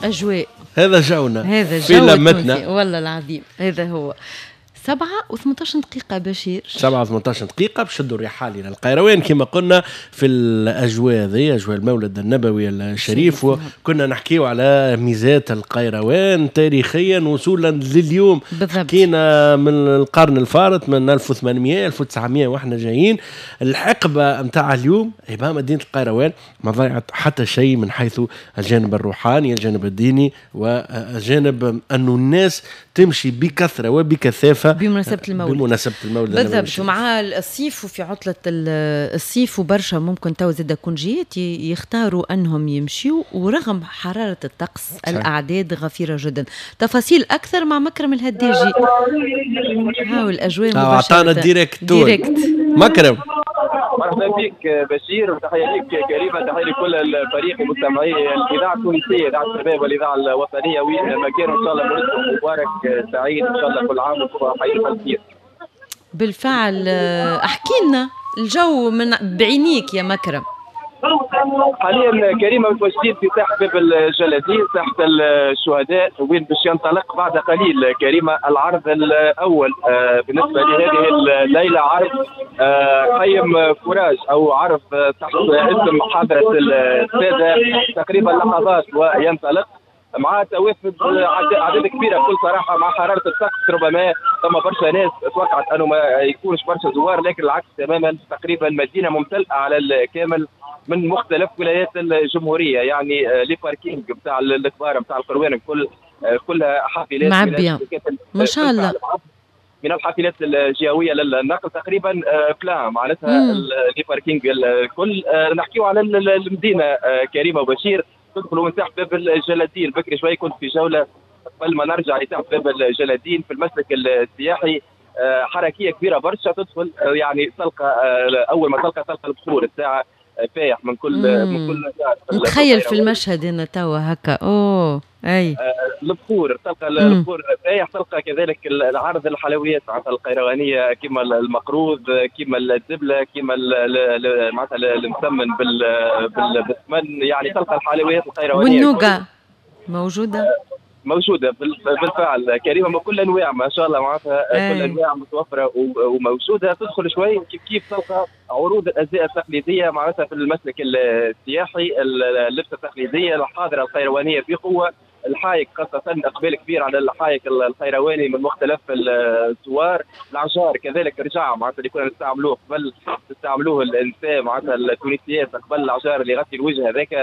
اجواء. هذا جونا. هذا في جو لمتنا. التونسي. والله العظيم هذا هو. 7:18 بشير. 7:18 باش نشدوا الرحال الى القيروان كما قلنا في الاجواء هذه، اجواء المولد النبوي الشريف. وكنا نحكيو على ميزات القيروان تاريخيا وصولا لليوم. حكينا من القرن الفارط، من 1800، 1900، واحنا جايين الحقبة نتاع اليوم. يبقى مدينة القيروان ما ضيعت حتى شيء من حيث الجانب الروحاني، الجانب الديني، وجانب انه الناس تمشي بكثرة وبكثافه بمناسبة المولد. بمناسبة المولد النبوي الشريف. ومع الصيف وفي عطلة الصيف وبرشا ممكن تو زاد congé ات يختاروا أنهم يمشيوا، ورغم حرارة الطقس الأعداد غفيرة جدا. تفاصيل أكثر مع مكرم الهداجي. هاو الأجواء مباشرة. عطانا direct طول. direct. مكرم. مرحبا بك بشير، وتحية لك كريمه، تحية لكل الفريق ومستمعي الاذاعة التونسيه، اذاعة الشباب والاذاعه الوطنيه، وين ما كانوا. ان شاء الله مولدكم مبارك سعيد، ان شاء الله كل عام وانتم حيين بخير. بالفعل، احكي لنا الجو من بعينيك يا مكرم. حاليا كريمه، متواجدين في ساحة باب الجلادين، ساحة الشهداء، وين باش ينطلق بعد قليل كريمة العرض الاول بالنسبة لهذه الليله، عرض خيم courage او عرض تحت اسم حضره الساده. تقريبا لحظات وينطلق مع توافد اعداد كبيره. بكل صراحه، مع حرارة الطقس ربما ثم برشا ناس توقعت انه ما يكونش برشا زوار، لكن العكس تماما، تقريبا مدينة ممتلئة على الكامل من مختلف ولايات الجمهوريه. يعني les parkings بتاع الكبار بتاع القروان الكل كلها حافلات. معبية. ما شاء الله. من الحافلات الجهوية للنقل تقريبا plein معناتها les parkings الكل. نحكيو على المدينة كريمة وبشير، تدخلوا من ساحة باب الجلادين. بكري شوي كنت في جولة قبل ما نرجع لساحه باب الجلادين في المسلك السياحي، حركية كبيرة برشا. تدخل يعني تلقى اول ما تلقى البخور الساعة فايح من كل. نتخيل في المشهد انا توا هكا، اوه اي. البخور، تلقى البخور فايح، تلقى كذلك العرض الحلويات معناتها القيروانيه، كما المقروض، كما الزبله، كما معناتها المسمن بالسمن، يعني تلقى الحلويات القيروانيه. وال nougat موجوده؟ موجودة بالفعل كريمه، من كل انواع ما شاء الله، معناتها كل انواع متوفرة وموجوده. تدخل شوي كيف كيف تلقى عروض الازياء التقليدية معناتها في المسلك السياحي، اللبسه التقليدية الحاضرة القيروانيه بقوه، الحايك خاصة، إقبال كبير على الحايك القيرواني من مختلف الزوار. العجار كذلك رجع، معناتها اللي كنا نستعملوه قبل، تستعملوه النساء معناتها التونسيات قبل، العجار اللي يغطي الوجه هذاك.